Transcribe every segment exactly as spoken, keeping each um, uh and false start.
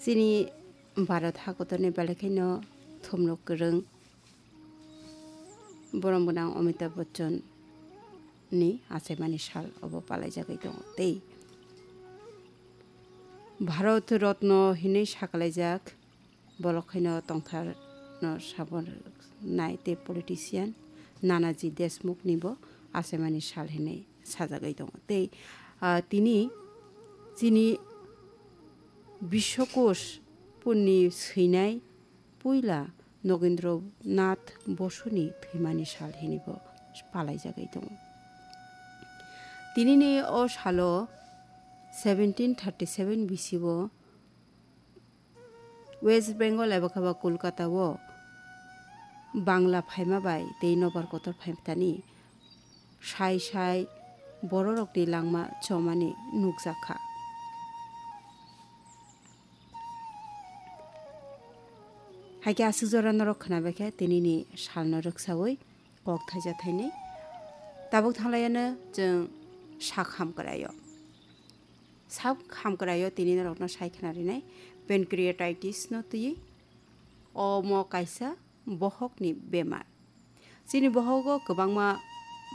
Tini Bharat hakotorni belai kheno thumrok kwrwng borom gwnang Amitabh Bachchan ni achaimani sal obo palaijagwi tongo. Tei Bharat Ratna hinwi sakalaijak, bolok khaino tongthar no sabon nai tei politician Nanaji Deshmukh ni bo achaimani sal hinwi sajagwi tongo. Tei, ah, tini chini Biswakosh punni swinai puila Nogendra Nath Bosuni thwimani sal hinwi bo palaijagwi tongo. Tinini o salo seventeen thirty seven bisi o West Bengal eba khe ba Kolkata o Bangla phaima bai tei nobar kotor phaimani sai sai bororokni langma chomani nukjakha. Haikhe aswk jora norok khwnabaikha tinini salno rwksawi kok thaisa thainwi. Tabuk thanglaiano chwng sak hamkraio. Sak hamkraio tini norokno sai khwnarinai pancreatitis no twiwi. Omo kaisa bohokni bemar. Chini bohogo kwbangma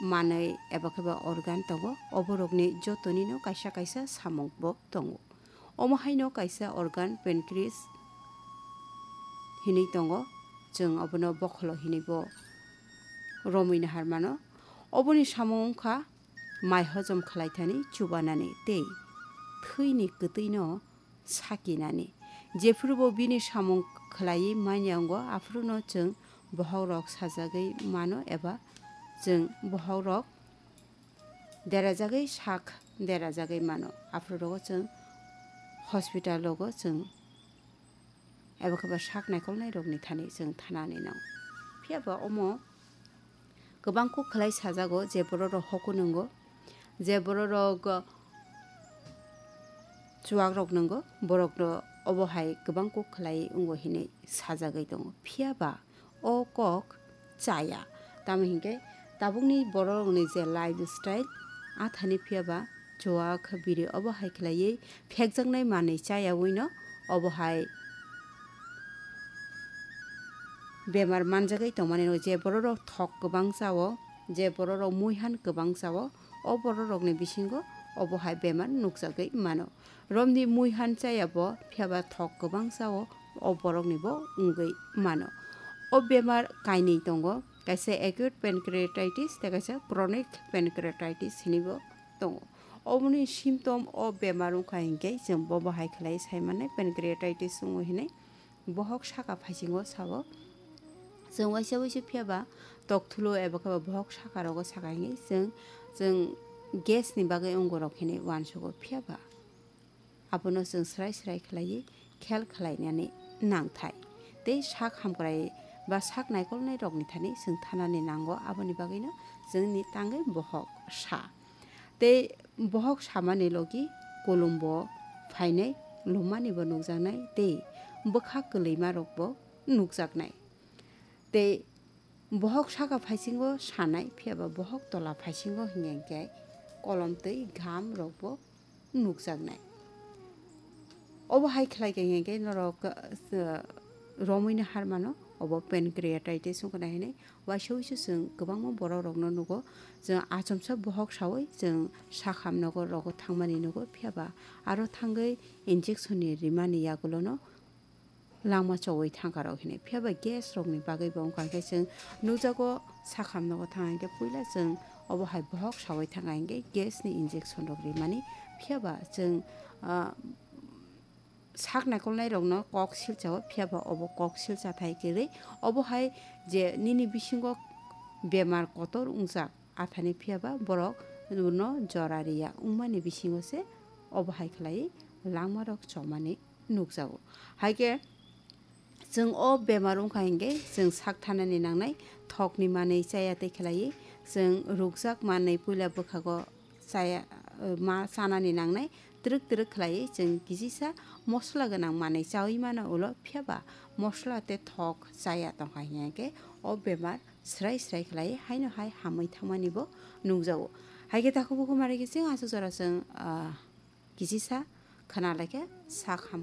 manwi eba khe ba organ tongo. Oborokni jotonino kaisa kaisa samung bo tongo. Omo haino kaisa organ pancreas hinwi tongo. Chwng obono bokholo hinwi bo romwi nahar mano. Oboni samung wngkha mai hojom khlaithani, chubanani tei thwini kwtwino sakinani. Jephuru bo bini samung khlaiwi manya wngo, aphuru no chwng bohok rok sajagwi mano eba chwng bohok rok derajagwi sak derajagwi mano. Aphuru rogo chwng hospital rogo chwng eba khe ba sak naikolnai rokni thani chwng thanani nang. Phiya ba omo kwbang kok khlai sajago, je borok rok hokun wngo, je borok rok, uh, chuwak rok nwngo, borok rok obo hai kwbang kok khlai wngo hinwi sajagwi tongo. Phiya ba o kok chaya, tamo hinkhe tabukni borok rokni je lifestyle, a thani phiya ba chuwak biri obo hai khlaiwi phekjaknai manwi chayawino obo hai bemar manjagwi tongmani rok, je borok rok thok kwbang chao, je borok rok muihan kwbang chao, o borok rokni bisingo obo hai bemar nukjagwi mano. Romni muihan chaya bo, phiya ba thok kwbang chao, o borokni bo wngwi mano. O bemar kainwi tongo, kaisa acute pancreatitis tei kaisa chronic pancreatitis hinwi bo tongo. Oboni symptom o bemar wngkha hinkhe chwng bobo hai khlai sai mannai pancreatitis wngo hinwi. Bohok saka phaisingo sao. Chwng waisa waisa phiya ba tokthulo eba khe ba bohok saka rogo saka hinkhe chwng, chwng gas ni bagwi wngo rok hinwi uansugo phiya ba. Abono chwng srai srai khlaiwi khel khlainani nangthai. Tei sak hamkrai ba sak naikolnai rokni thani chwng thanani nango, aboni bagwino chwngni tangwi bohok sa. Tei bohok samani logi kulumbo phainai, lummani bo nukjaknai tei bwkha kwlwima rokbo nukjaknai. Tei bohok saka phaisingo sanai, phiya ba bohok tola phaisingo hinkhe kolom tei gham rokbo nukjaknai. Obo hai khlai khe hinkhe norok, uh, romwi no har mano, obo pancreatitis wngkha na hinwi. Waisa waisa chwng kwbangma borok rokno nugo, chwng achomsa bohok sawi chwng sakham nogo rogo thangmani nugo, phiya ba aro thangwi injection ni rimani yagulono langma chowi thangkarok hinwi. Phiya ba gas rokni bagwi bo wngkha khe chwng nukjago, sakham nogo thang hinkhe puila chwng obo hai bohok sawi thang hinkhe gas ni injection rok rimani. Phiya ba chwng, ah, sak naikolnai rokno kok silchao, phiya ba obo kok silcha thai kwrwi. Obo hai je nini bisingo bemar kotor wngjak, athani phiya ba borok no jora riya wngmani bisingo se obo hai khlai langma rok chomani nukjago. Hai khe chwng o bemar wngkha hinkhe chwng sak thanani nangnai, thokni manwi chaya tei khlaiwi chwng rukjak manwi puila bwkhago chaya, ma chanani nangnai, twrwk twrwk khlaiwi chwng kisisa mosola gwnang manwi chawi mano ulo, phiya ba mosola tei thok chaya tongkha hinkhe o bemar srai srai khlaiwi haino hai hamwi thangmani bo nukjago. Hai khe takhuk bukhuk mari khe chwng aswk jora chwng, ah, kisisa khna laikha sak hamkha.